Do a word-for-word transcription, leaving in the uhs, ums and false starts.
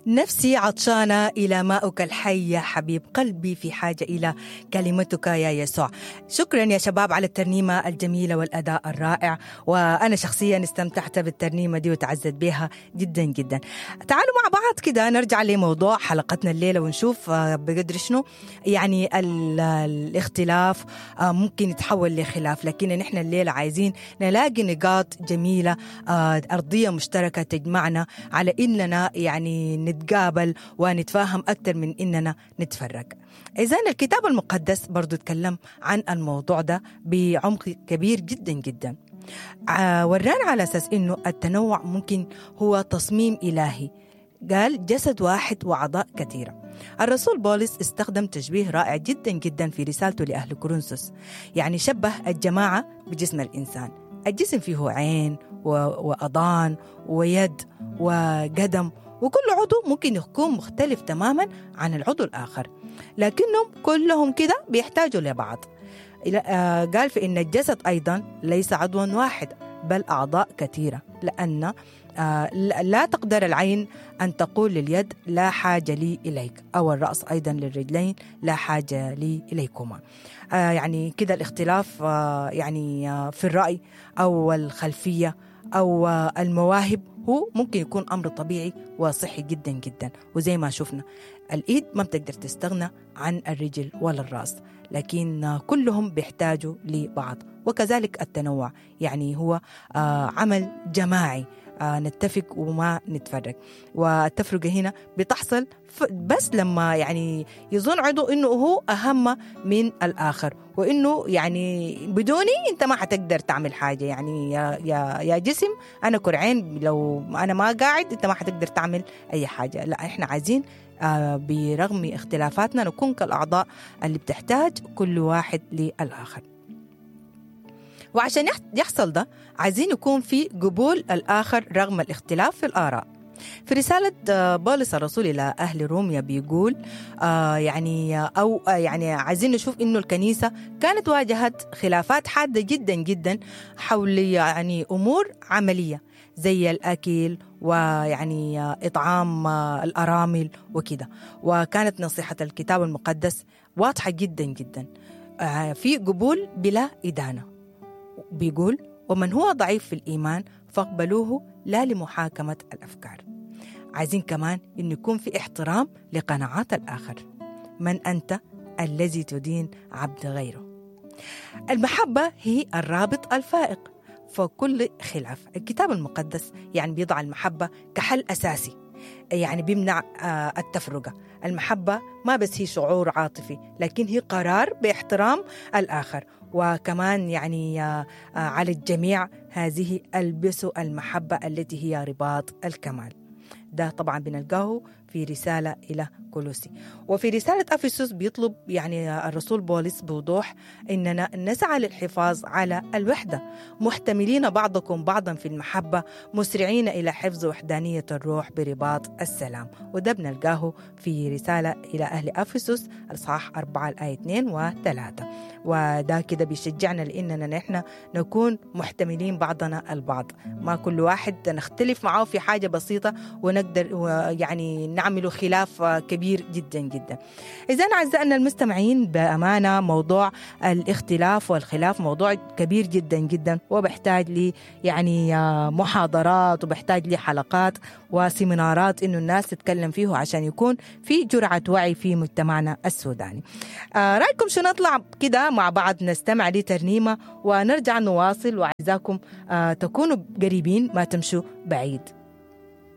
نفسي عطشانة إلى ماؤك الحي يا حبيب قلبي، في حاجة إلى كلمتك يا يسوع. شكرا يا شباب على الترنيمة الجميلة والأداء الرائع، وأنا شخصيا استمتعت بالترنيمة دي وتعزت بها جدا جدا. تعالوا مع بعض كده نرجع لموضوع حلقتنا الليلة ونشوف بقدر شنو يعني الاختلاف ممكن يتحول لخلاف، لكن نحن الليلة عايزين نلاقي نقاط جميلة، أرضية مشتركة تجمعنا على إننا يعني نتقابل ونتفاهم أكثر من إننا نتفرق. إذن الكتاب المقدس برضو تكلم عن الموضوع ده بعمق كبير جدا جدا، ورانا على أساس إنه التنوع ممكن هو تصميم إلهي. قال جسد واحد وأعضاء كثيرة. الرسول بولس استخدم تشبيه رائع جدا جدا في رسالته لأهل كورنثوس، يعني شبه الجماعة بجسم الإنسان. الجسم فيه عين وأضان ويد وقدم، وكل عضو ممكن يكون مختلف تماما عن العضو الآخر، لكنهم كلهم كده بيحتاجوا لبعض. قال في إن الجسد أيضا ليس عضوا واحد بل أعضاء كثيرة، لأن لا تقدر العين أن تقول لليد لا حاجة لي إليك، أو الرأس أيضا للرجلين لا حاجة لي إليكما. يعني كده الاختلاف يعني في الرأي أو الخلفية أو المواهب هو ممكن يكون أمر طبيعي وصحي جدا جدا. وزي ما شفنا الإيد ما بتقدر تستغنى عن الرجل ولا الرأس، لكن كلهم بيحتاجوا لبعض. وكذلك التنوع يعني هو عمل جماعي، نتفق وما نتفرق. والتفرقة هنا بتحصل بس لما يعني يظن عضو إنه هو أهم من الآخر، وإنه يعني بدوني أنت ما حتقدر تعمل حاجة. يعني يا, يا, يا جسم أنا كرعين، لو أنا ما قاعد أنت ما حتقدر تعمل أي حاجة. لا، إحنا عايزين برغم اختلافاتنا نكون كالأعضاء اللي بتحتاج كل واحد للآخر. وعشان يحصل ده عايزين يكون في قبول الآخر رغم الاختلاف في الآراء. في رسالة بولس الرسول إلى أهل روميا بيقول آه يعني أو يعني عايزين نشوف إنه الكنيسة كانت واجهت خلافات حادة جدا جدا حول يعني أمور عملية زي الأكل ويعني إطعام الأرامل وكده. وكانت نصيحة الكتاب المقدس واضحة جدا جدا، آه في قبول بلا إدانة. بيقول ومن هو ضعيف في الإيمان فاقبلوه لا لمحاكمة الأفكار. عايزين كمان إن يكون في احترام لقناعات الآخر. من أنت الذي تدين عبد غيره؟ المحبة هي الرابط الفائق فكل خلاف. الكتاب المقدس يعني بيضع المحبة كحل أساسي، يعني بيمنع التفرقة. المحبة ما بس هي شعور عاطفي، لكن هي قرار باحترام الآخر. وكمان يعني على الجميع هذه ألبسوا المحبة التي هي رباط الكمال. ده طبعا بنلقاه في رسالة إلى كولوسي. وفي رسالة أفسس بيطلب يعني الرسول بولس بوضوح إننا نسعى للحفاظ على الوحدة، محتملين بعضكم بعضا في المحبة، مسرعين إلى حفظ وحدانية الروح برباط السلام. وده بنلقاه في رسالة إلى أهل أفسس الإصحاح أربعة الآية اثنين وثلاثة. وده كده بيشجعنا لأننا نحن نكون محتملين بعضنا البعض، ما كل واحد نختلف معه في حاجة بسيطة ونقدر يعني نعمل خلاف كبير جدا جدا. إذن أعزائنا المستمعين، بأمانة موضوع الاختلاف والخلاف موضوع كبير جدا جدا، وبحتاج لي يعني محاضرات، وبحتاج لي حلقات وسيمينارات إنه الناس تتكلم فيه عشان يكون في جرعة وعي في مجتمعنا السوداني. آه رأيكم شو نطلع كده مع بعض نستمع لترنيمة ونرجع نواصل، وعايزاكم آه تكونوا قريبين ما تمشوا بعيد.